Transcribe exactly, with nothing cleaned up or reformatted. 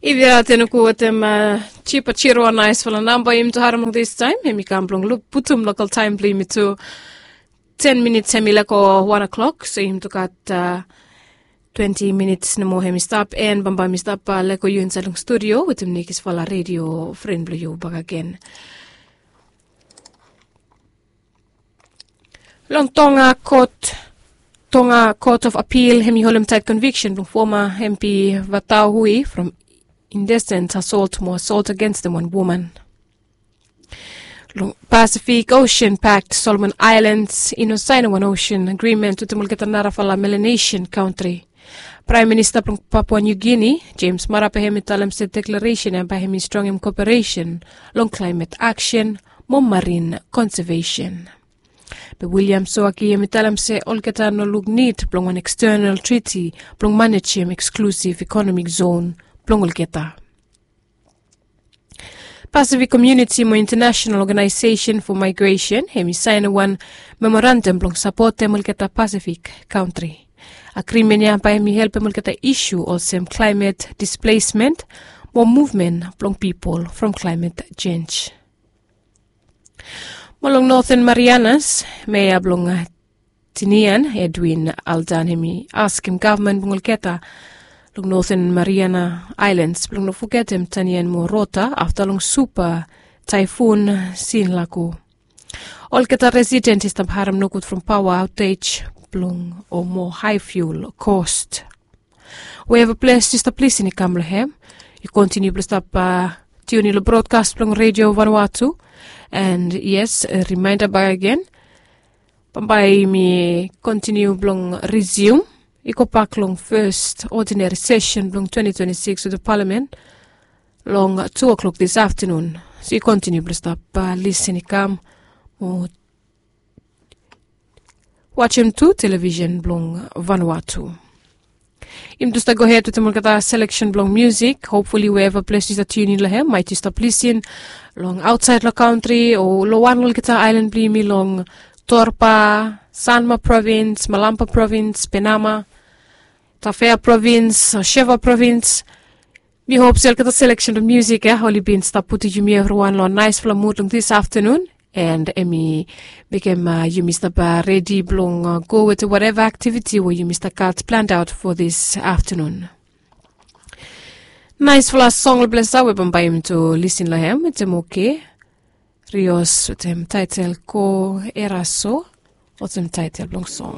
If yu gat eni ku wetem jipa jiro a naisfala namba yumi tu harim long distaim, em i kam blong putum lokal taim blong yumi tu. Ten minits em i leko wan o'klok, so yumi tu gat twenti minits nomo em i stap, en bambae mi stap leko yu insaed long studio wetem nekisfala redio fren blong yu bakagen. Long tonga kot tonga kot of apil em i holim taet konviksen blong foma empi vatau hui from indesent asolt mo asolt agenstem wan woman. Long pasifik osen pakt solomon aelans i no saenem wan osen agrimen wetem olgeta narafala melanesian kantri. Praem minista blong papua niu gini jems marape hem i talem se deklaresen ya bae hem i strongem koperesen long klaemet aksen mo marin konsevesen. Be wiliam soaki hem i talem se olgeta no luk nid blong wan ekstenal triti blong manejem eksklusiv ekonomik zon blong olgeta. Pasifik komiuniti mo intanasenal oganaesesen fo maegresen hem i saenem wan memorandam blong sapotem olgeta pasifik kantri. Agrimen ya bae hem i helpem olgeta isu olsem klaemet displesmen mo muvmen blong pipol from klaemet jenj. Mo long noten marianas mea blong tinian edwin aldan hem i askem gavman blong olgeta long noten mariana aelans blong no fogetem tanian mo rota afta long supa taefun sin lago. Olgeta residen i stap harem nogud from paoa aotej blong o mo hae fiul kost. Weeva ples yu stap lisin i kam long hem. Yu kontiniu blong stap tiuni long brodkas blong redio vanua tu. And yes, rimaenda bak agen bambae yumi kontiniu blong risium i gobak long fes odinari sesen blong twenti twenti sikis wetem palamen long tu o'klok dis aftanun. So yu kontiniu blong stap lisin i kam mo wajem tu televisen blong vanua tu. Yumi tu stap gohed wetem olgeta seleksen blong musik. Hopfuli weeva ples yu stap tiunin long hem maet yu stap lisin long aotsaed long kantri o long wan long olgeta aelan blong yumi long torpa, sanma provins, malampa provins, penama, tafea provins, sheva provins. Mi hop se olgeta seleksen blong musik ya oli bin stap putum yumi evriwan long naesfala mud long dis aftanun. And em i mekem yumi stap redi blong go wetem wateva aktiviti we yumi stap gat planned out fo dis aftanun. Naesfala song long ples ya we bambae yumi tu lisin long hem wetem oke rios wetem taetel ko eraso wetem taetel blong song.